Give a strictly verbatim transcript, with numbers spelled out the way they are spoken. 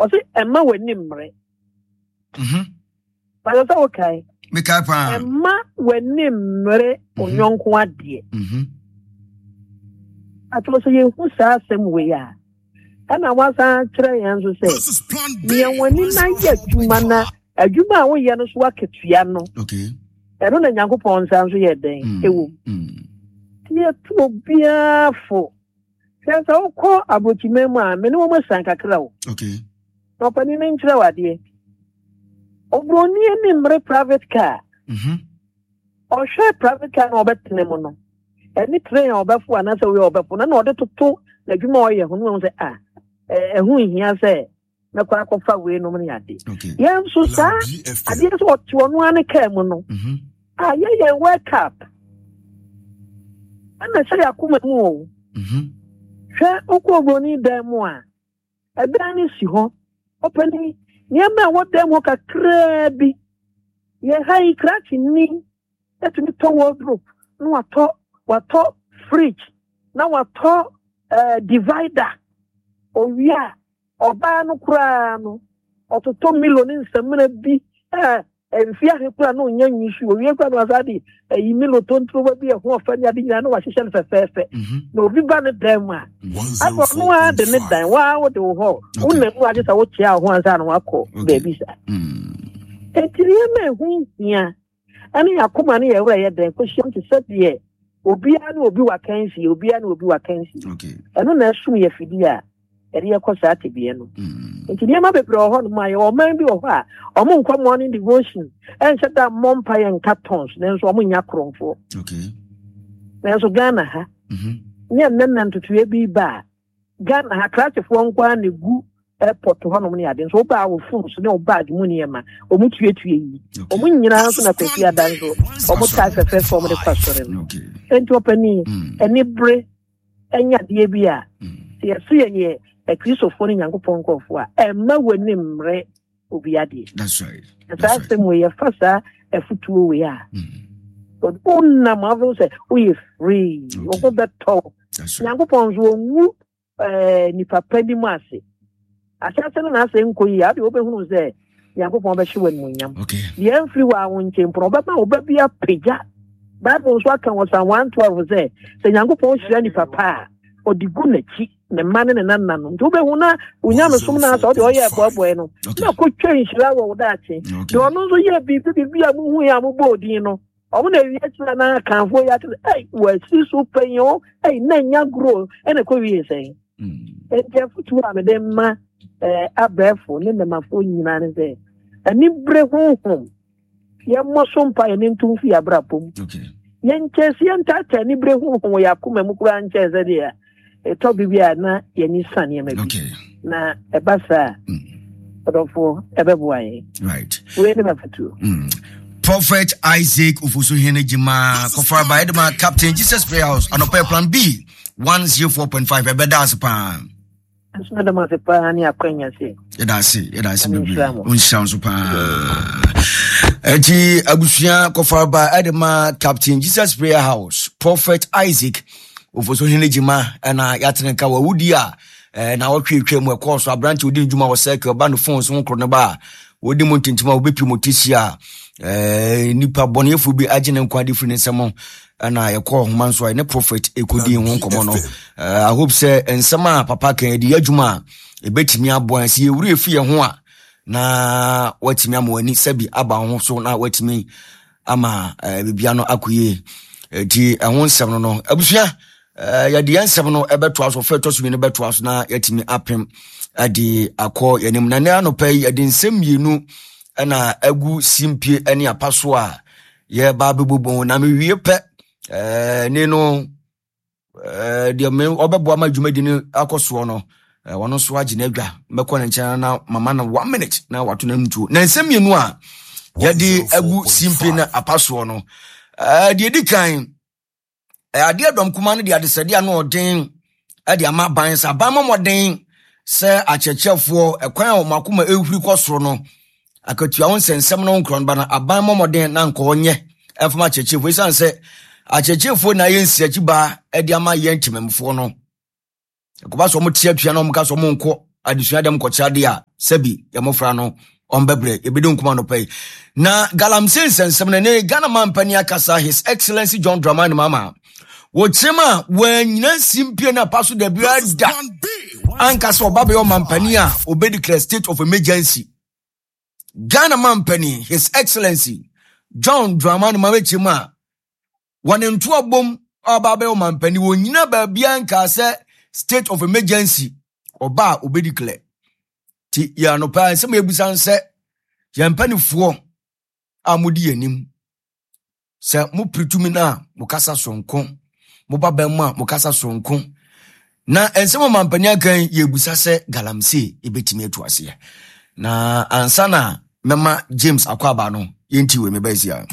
Ɔse ɛma w'ani mmere. Mhm. Bàtɛ sɛ wokae. Mekae paa. Ɛma w'ani mmere onyɔnko adeɛ. Mhm. Atɔ sɛ yɛhu saa asɛm wei a, ɛna wasan kyerɛ yɛn nso sɛ This is Plan B. nea w'ani na yɛ adwuma na adwuma a woyɛ no so akatua no, Okay. ɛno na Nyankopɔn nsa nso yɛ dɛn Mm. ɛwɔ mu. Mm. Nti yɛto obiara fo sɛ sɛ wokɔ aborɔkyima mu a, me ne wɔn asiane kakra o. Okay. Na ɔpanin no nkyerɛ wo adeɛ. Oburoni ani mmere private car. Mhm. Ɔhwɛ private car na ɔbɛtena mu no, ɛne train a ɔbɛfo anaasɛ woyɛ ɔbɛfo no na ɔde toto n'adwuma a ɔyɛ ho no, wɔn sɛ a ɛho nhia sɛ mɛkɔ akɔfa wei nom ne ade. Okay. Yɛn nso saa Plan B F M. adeɛ sɛ ɔte ɔno ara ne kaa mu no Mhm. a yɛyɛ wake up ɛna ɛhyɛ yɛ akoma mu o. Mhm. Hwɛ, wokɔ oburoni dan mu a, ɛdan no si hɔ, ɔpɛni nneɛma a ɛwɔ dan mu hɔ kakraa bi. Yɛ ha yi, krakye ni ɛtumi tɔ wardrobe na watɔ watɔ fridge na watɔ ɛɛ divider. Owie a, ɔbaa no koraa no ɔtotɔ Milo ne nsamina bi ɛɛ mfi ahe koraa na onya nyi so. Owie koraa na wasa de ɛyi Milo tontoba bi ɛho ɔfɛ ne ade nyinaa na wahyehyɛ no fɛfɛɛfɛ. Mhm. Na obi ba ne dan mu a, One afɔ zero no ara de ne four point dan five. waa wode wo hɔ wonam mu agye sɛ wokyea wo ho ansa na wakɔ Okay. baabi saa. Mm. Enti nneɛma a ɛho hia ɛne yɛ akoma ne yɛ werɛ yɛ dɛn kɔhyiam te sɛ deɛ obiara ne obi wakansie, obiara ne obi wakansie. Okay. Ɛno na ɛsom yɛ fidie a yɛde yɛkɔ saa tebea no. Mm. Nti nneɛma bebree wɔ hɔnom a yɛwɔ ɔman bi wɔ hɔ a ɔmo nkɔ morning devotion, ɛnhyɛ da mmɔ mpa yɛ nka tons, nanso ɔmo nya korɔmfoɔ. Okay. Nanso Ghana ha, Mhm. nyɛ nnɛ nna ntotoeɛ bi ba a, Ghana ha krakyefoɔ nko ara na egu airport hɔnom ne ade nso wobaa wo phones ne wo bag mu nneɛma ɔmo tuatua yi. Okay. Ɔmo nyinaa nso na Kwasi ada nso ɔmo tae fɛfɛɛfɛ ɔmo de kɔ asɔre no. Okay. Enti ɔpanin, Mm. ɛne bere ɛnyɛ adeɛ bi a Mm. sɛ yɛso yɛyɛ Akristofoɔ ne Nyankopɔn nkurɔfoɔ a, ɛmma w'ani mmere obi adeɛ. That's right. Na That's saa right. asɛm wei, yɛfa saa afotuo wei a, Mm. wonam afo sɛ woyɛ free, wo Okay. ho bɛtɔ wo. That's right. Nyankopɔn nso ɔnwu ɛɛ nipa pa nim ase ahyɛse no na asɛ nkɔ yi a, wode wobɛhunu sɛ Nyankopɔn bɛhye wɔ animuonyam. Okay. Deɛ ɛmfiri wɔ a wo nkyɛn mpo no, ɔbɛma wo ba bi apagya. Bible nso aka wɔ Psalm one twelve sɛ sɛ Nyankopɔn hyira nipa pa a, ɔde gu n'akyi, ne mma ne ne nana no. Nti wobɛhu na onyamesom no asɛ wode ɔyɛ ɛboaboae no Okay. na kɔtwa nhyira wɔ wo daakye. Okay. Deɛ ɔno nso yɛ biribi biribi a mohu yɛ a mobɔ odin no, ɔmo na awie kyerɛ na akanfoɔ yi ate sɛ ɛi wɔasi so panyin o, ɛi na nya goro ɛna kɔ wie sɛn. Mm. Nti afotuo a mede ma ɛɛ abɛɛfo ne nnɛmafoɔ nyinaa ne sɛ anibere honhom, yɛmmɔ so mpa yɛne ntom fi abrabɔ mu. Okay. Yɛnkyɛn sɛ yɛntaataa anibere honhom wɔ yɛ akoma mu koraa nkyɛn sɛ deɛ ɛtɔ biribi a na yɛni sa nneɛma bi. Okay. Na ɛba saa, Mm. ɔdɔfoɔ, ɛbɛboa yɛn. Right. Wei ne mafotuo. Mm. Prophet Isaac Ofosuhene Jima Kɔfaraba Edema, Captain Jesus Prayer House, anɔpɛ Plan B one zero four point five, ɛbɛda ase paa. Nso mɛdam ase paa ne akwanya sɛ Yɛda ase, yɛda ase Nyame bebree. nhyira mo. Ɔnhyira wo nso paa. Ɛnti abusua, Kɔfaraba Edema, Captain Jesus Prayer House, Prophet Isaac Ofosuhene Jima, ɛna yɛatene nka wɔ awudi a eh, na wɔtwe atwa mu ɛkɔɔ so aberante odi ndwuma wɔ circle ba no phone so ho korɔ no ba a wɔdi mu ntintim a wɔbɛpie mu tisi a eh, nipa bɔneyɛfoɔ bi agye ne nkwa de firi ne nsɛm, ɛna yɛkɔɔ homa nso a ne prophet ɛkɔdi ho nkɔmmɔ no. Eh, I hope sɛ nsɛm a papa kan yɛde yɛ adwuma a, ɛbɛtumi aboa yɛn. Sɛ yɛwura efi yɛn ho a, na watumi ama w'ani sɛbi aba wo ho so na watumi ama eh, biribia no akɔ yie. Nti ɛho nsɛm no no abusua, eh, yɛde yɛn nsɛm no ɛbɛtoa so, fɛ ɛtɔ so mmienu bɛtoa so na yɛatumi apem ɛde akɔ yɛn anim. Na nnɛ anɔpa yi yɛde nsɛm mmienu ɛna agu simpie ne apa so a yɛba abɛbobɔ na mewie pɛ ɛɛ ne no ɛɛ deɛ me ɔbɛboa ma dwumadi no akɔ soɔ no, ɛɛ ɔno nso agye n'adwa. Mɛkɔ ne nkyɛn na mama no one minute na wato n'anum. Na nsɛm mmienu a yɛde agu simpie ne apa soɔ no, ɛɛ deɛ di kan, ɛɛ adeɛ dɔm kuma no de adesrɛdeɛ ano ɔden ɛde ama aban sɛ aban mmɔden sɛ akyerɛkyerɛfoɔ ɛkwan a wɔn akoma ehuri kɔ soro no, akatua ho nsɛnsɛm no nkorɔ no ba no, aban mmɔden na nkɔɔ nyɛ ɛfam akyerɛkyerɛfoɔ, esiane sɛ akyerɛkyerɛfoɔ na ayɛ nsiakyi baa ɛde ama yɛn ntemamufoɔ no. Ɛkɔba sɛ ɔmo te atua na ɔmo ka sɛ ɔmo nkɔ Adesua dɛm kɔkyerɛ adeɛ a sɛbi yɛ mmɔfra no ɔmbɛbrɛ. Yɛbɛdi nkɔmɔ anɔpa yi na galamsey nsɛnsɛm no ne Ghana mampani akasa, His Excellency John Dramani Mahama, wɔkyerɛm a wɔanyina nsi no apa so da biara da anka sɛ ɔba bɛyɛ ɔmampani a ɔbɛdeclare state of emergency. Ghana mampani, His Excellency John Dramani Mahama, kyerɛm a wɔne ntoa bom a ɔba bɛyɛ ɔmampani, wɔnyina baabia nkaa sɛ state of emergency ɔba a ɔbɛdeclare. Nti yɛ anɔpa nsɛm a yɛbusa sɛ yɛn mpanifoɔ a modi yɛn anim sɛ mopere tumi no a, mokasa soronko, moba bɛn mu a, mokasa soronko. Na nsɛm a mampani aka yi, yɛbusa sɛ galamsey yɛbɛtumi atu aseɛ? Na ansa na mɛma James akɔ aba no, yɛnti wei mebɛsi a.